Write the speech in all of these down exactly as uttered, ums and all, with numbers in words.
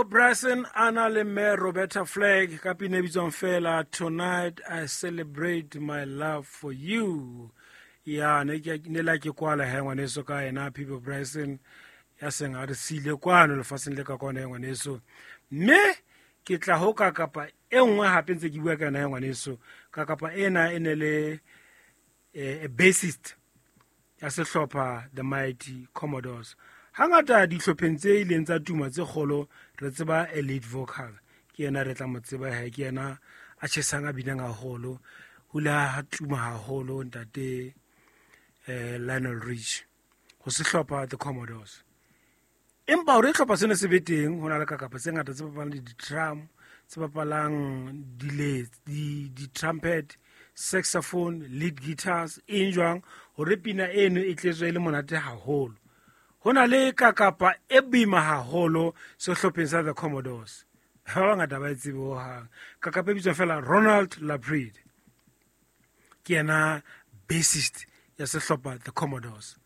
Peabo Bryson a na le mme Roberta Flack ka pina e bitswang fela "Tonight I Celebrate My Love For You". Ya ne ke ne la ke kwala he, ngwaneso, ka yena Peabo Bryson ya seng a re siile kwano lefatsheng le ka kwana, he ngwaneso. Mme ke tla ho ka kapa e nngwe hape ntse ke bua ka yona, he ngwaneso. Ka kapa ena e ne le eh, bassist ya sehlopha The Mighty Commodores. Hangata dihlopheng tse ileng tsa tuma tse kgolo, re tseba a lead vocal, ke yena re tla mo tseba he, ke yena a tjhesang, a binang haholo. Ho ile ha tuma haholo ntate eh, Lionel Richie ho sehlopha The Commodores. Empa hore hlopha sena se be teng, ho na le kakapa tse ngata tse bapalang di-drum, tse bapalang di-trumpet, saxophone, lead guitars, eng jwang, hore pina eno e tletswe e le monate haholo. Ho na le kakapa e boima haholo sehlopheng sa The Commodores, ba bangata ba e tsebe hohang. Kakapa e bitswang fela Ronald LaPread, ke yena bassist ya sehlopha The Commodores.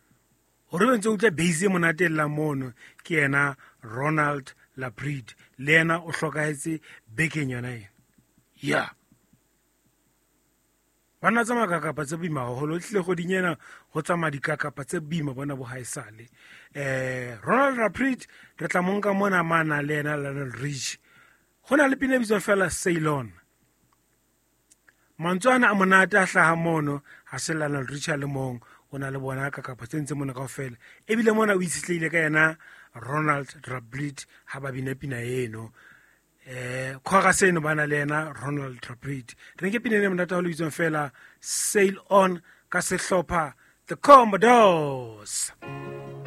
Hore be ntse utlwa bass e monate e llang mono, ke yena Ronald LaPread. Le yena o hlokahetse bekeng yona ena. Ya banna, tsamaya kakapa tse boima haholo. Tlile kgoding ena ho tsamaya dikakapa tse boima bona bo haesale. um Ronald LaPread re tla monka mona mana le yena Lionel Richie. Ho na le pina e bitswang fela "Sail On". Mantswe ana a monate a hlaha mono, ha se Lionel Richie a le mong, o na le bona kakapa tse ntse mona kaofela. Ebile mona o itshetlehile ka yena Ronald LaPread ha ba bina pina eno. eh chorus eno ba na le yena Ronald LaPread. Re nke pina ena monate haholo bitswang fela "Sail On" ka sehlopha The Commodores.